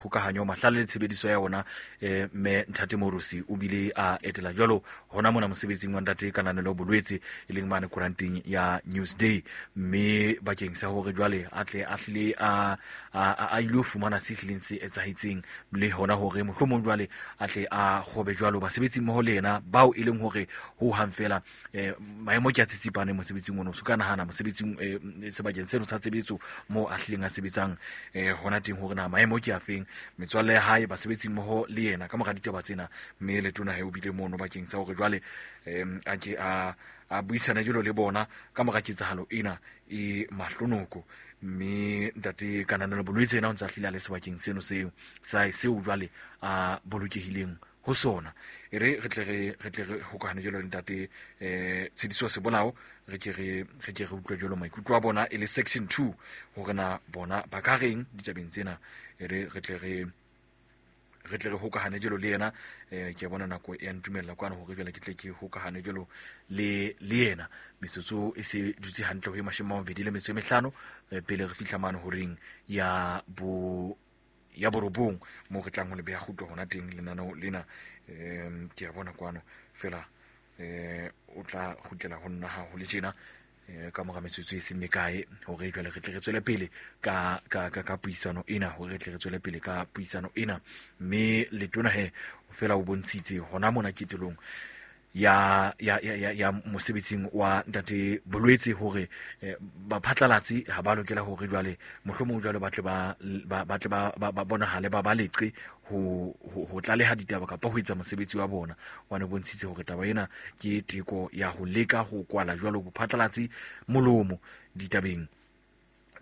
Kgokahanyo mahlale le tshebediso ya ona, mme Ntate Morosi o bile a etela jwalo hona mona mosebetsing wa Ntate Kananelo Bolwetse, e leng mane koranteng ya Newsday, mme bakeng sa hore jwale a tle a hlile a ile ho fumana se hlileng se etsahetseng, le hona hore mohlomong jwale a tle a kgobe jwalo basebetsi mmoho le yena bao e leng hore ho hang fela maemo ke a tsitsipane mosebetsing ono. So ka nahana mosebetsing, sebakeng seno sa tshebetso moo a hlileng a sebetsang hona teng, hore na maemo ke a feng, metswalle ya hae, basebetsi mmoho le yena ka mora ditaba tsena. Mme letona he o bile mono bakeng sa hore jwale a ke a buisane jalo le bona ka mora ketsahalo ena e mahlonoko. Mme Ntate Kananelo Bolwetse ena o ntse a hlile a le sebakeng seno seo seo jwale a bolokehileng ho sona. E re re tle re hokahane jalo le Ntate Tshediso Sebolao, re ke re utlwe jalo maikutlo a bona e le section 2, hore na bona ba ka reng ditabeng tsena. E re re tle re hokahane jalo le yena. Ke bona nako e a ntumella kwana hore jwale ke tle ke hokahane jalo le yena. Metsotso e se dutse hantle ho e 25 pele re fihla mane horeng ya 9 moo re tlang ho le beha kgutlo hona teng lenaneo lena. Ke a bona kwano fela o tla kgutlela ho nna ha ho le tjena ka mora metsotso e seng mekae, hore jwale re tle re tswele pele ka puisano ena, hore re tle re tswele pele ka puisano ena. Mme letona he fela o bontshitse hona mona ketelong ya mosebetsing wa Ntate Bolwetse hore baphatlalatsi ha ba lokela hore jwale mohlomong jwale ba tle ba bonahale ba leqe ho tlaleha ditaba kapa ho etsa mosebetsi wa bona. Wa ne bontshitse hore taba ena ke teko ya ho leka ho kwala jwalo bophatlalatsi molomo ditabeng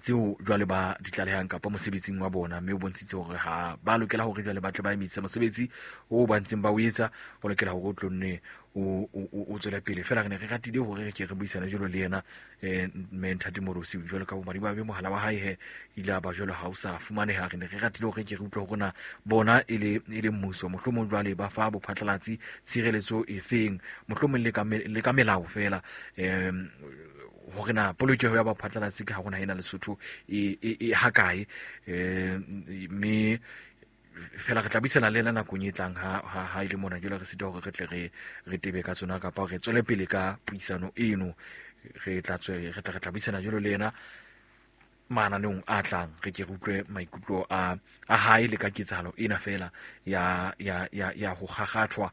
tseo jwale ba di tlalehang kapa mosebetsing wa bona. Mme o bontshitse hore ha ba lokela hore jwale ba tle ba emise mosebetsi o ba ntseng ba o etsa, o lokela hore o tlo nne o tswele pele. Fela re ne re ratile hore re ke re buisane jwalo le yena mme Ntate Morosi, jwalo ka bomadimabe mohala wa hae he ile a ba jwalo ha o sa fumaneha. Re ne re ratile hore ke re utlwe hore na bona e le mmuso mohlomong jwale ba fa bophatlalatsi tshireletso e feng, mohlomong le ka melao fela, hore na polokeho ya baphatlalatsi ka hare ho naha ena Lesotho e hakae. Mme fela re tla buisana le yena nakong e tlang ha ile mona jwale re sita hore re tle re tebe ka tsona kapa re tswele pele ka puisano eno. Re tla buisana jwalo le yena mananeong a tlang, re ke re utlwe maikutlo a hae le ka ketsahalo ena fela ya ho kgakgathwa,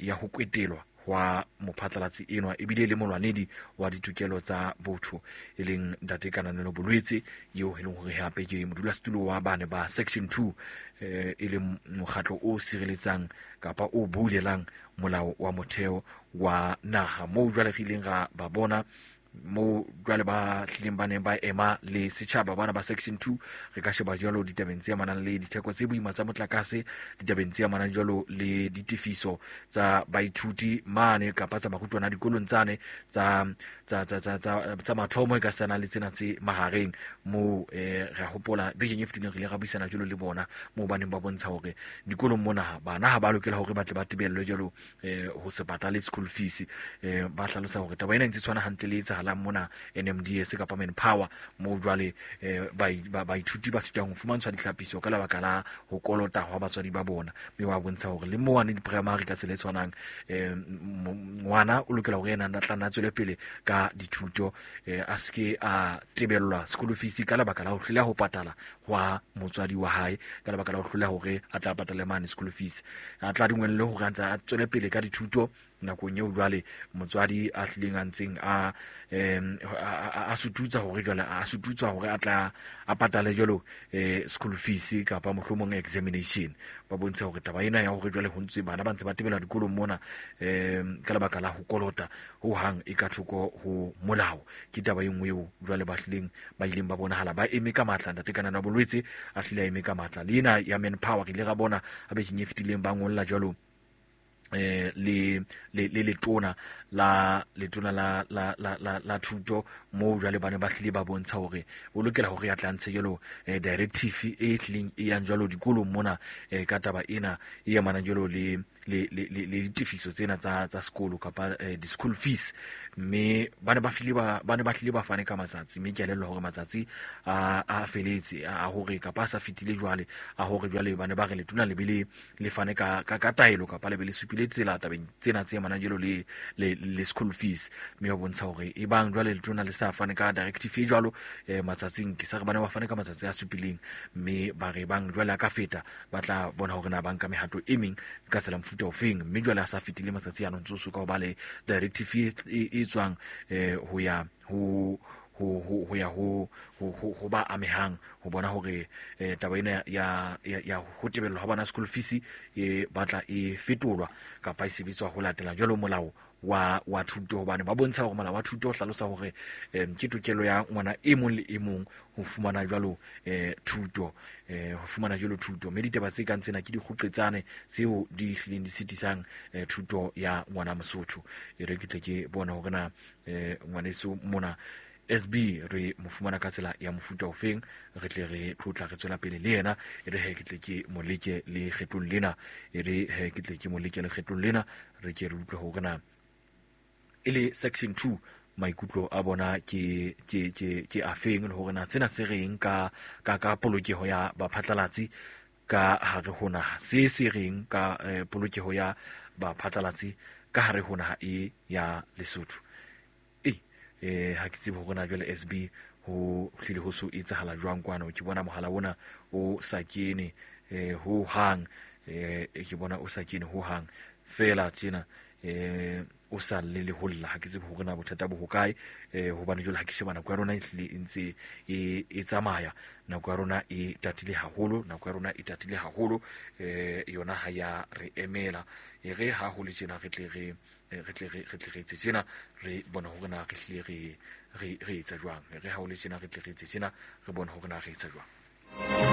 ya ho kwetelwa wa mophatlalatsi enwa ebile le molwanedi wa ditokelo tsa botho, e leng Ntate Kananelo Bolwetse, eo e leng hore hape ke modulasetulo wa bane ba section 2, e leng mokgatlo o sireletsang kapa o boulelang molao wa motheo wa naha, moo jwale re ileng ra ba bona moo jwale ba hlileng ba neng ba ema le setjhaba bana ba section 2. Re ka sheba jwalo ditabeng tse amanang le ditheko tse boima tsa motlakase, ditabeng tse amanang jwalo le ditefiso tsa baithuti mane kapa tsa barutwana dikolong tsane tsa mathomo e ka sana le tsena tse mahareng, moo re hopola bekeng e fetileng re ile ra buisana jwalo le bona moo ba neng ba bontsha hore dikolong mona bana ha ba lokela hore ba tle ba tebellwe jwalo ho se patale school fees. Ba hlalosa hore taba ena e ntse tshwana hantle le etsahalang mona NMDS kapa Manpower, moo jwale baithuti ba sitang ho fumantshwa dihlapiso ka lebaka la ho kolota hwa batswadi ba bona. Mme ba bontsha hore le moane di-primary ka tsela e tshwanang, ngwana o lokela hore yena a tla nna tswele pele ka dithuto, a seke a tebellwa school fees ka lebaka la ho hloleha ho patala hwa motswadi wa hae, ka lebaka la ho hloleha hore a tla patale mane school fees, a tla dingwelle hore a ntse a tswele pele ka dithuto nakong eo jwale motswadi a hlileng a ntseng a sututsa hore jwale a sututsa hore a tla a patale jwalo school fees kapa mohlomong examination. Ba bontsha hore taba ena ya hore jwale ho ntse bana ba ntse ba tebelwa dikolong mona ka lebaka la ho kolota ho hang e ka thoko ho molao, ke taba e nngwe eo jwale ba hlileng ba ileng ba bonahala ba eme ka matla. Ntate Kananelo Bolwetse a hlile a eme ka matla. Le ena ya Manpower re ile ra bona a bekeng e fetileng ba ngolla jwalo le letona la thuto, moo jwale ba ne ba hlile ba bontsha hore o lokela hore a tla ntshe jwalo directive e hlileng e yang jwalo dikolong mona ka taba ena e amanang jwalo le le ditefiso tsena tsa sekolo kapa di-school fees. Mme ba ne ba hlile ba fane ka matsatsi, mme ke elellwa hore matsatsi a feletse a hore kapa a sa fetile jwale, a hore jwale ba ne ba re letona le be le fane ka taelo kapa le be le supile tsela tabeng tsena tse amanang jwalo le school fees. Mme ba bontsha hore e bang jwale letona le sa fane ka directive e jwalo matsatsing, ke sa re ba ne ba fane ka matsatsi a supileng, mme ba re bang jwale a ka feta ba tla bona hore na ba nka mehato e meng ka tsela mofuta ofeng. Mme jwale a sa fetile matsatsi ano ntso so ka ho ba le directive e tswang ho ya ho ya ho ba amehang ho bona hore taba ena ya ho tebellwa ha bana school fees e batla e fetolwa kapa e sebetswa ho latela jwalo molao wa thuto, hobane ba bontsha hore molao wa thuto o hlalosa hore ke tokelo ya ngwana e mong le e mong ho fumana jwalo thuto, ho fumana jwalo thuto. Mme ditaba tse kang tsena ke dikgoqetsane tseo di hlileng di sitisang thuto ya ngwana Mosotho. E re ke tle ke bona hore na ngwaneso mona SB re mo fumana ka tsela ya mofuta ofeng, re tle re tlotla re tswela pele le yena. E re he ke tle ke mo leke le kgetlong lena, e re he ke tle ke mo leke le kgetlong lena, re ke re utlwe hore na e le section 2 maikutlo a bona ke afeng, le hore na tsena se reng ka polokeho ya baphatlalatsi ka hare ho naha, se reng ka polokeho ya baphatlalatsi ka hare ho naha e ya Lesotho. Ha ke tsebe hore na jwale SB ho hlile ho so etsahala jwang kwano. Ke bona mohala ona o sa kene ho hang, ke bona o sa kene ho hang fela tjena, o sa le le holla. Ha ke tsebe hore na bothata bo hokae, hobane jwale ha ke sheba nako ya rona e hlile e ntse e tsamaya, nako ya rona e tatile haholo, nako ya rona e tatile haholo, yona ha ya re emela. E re ha ho le tjena re tle re etse tjena, re bona hore na re hlile re etsa jwang. Re ha ho le tjena re tle re etse tjena, re bona hore na re etsa jwang.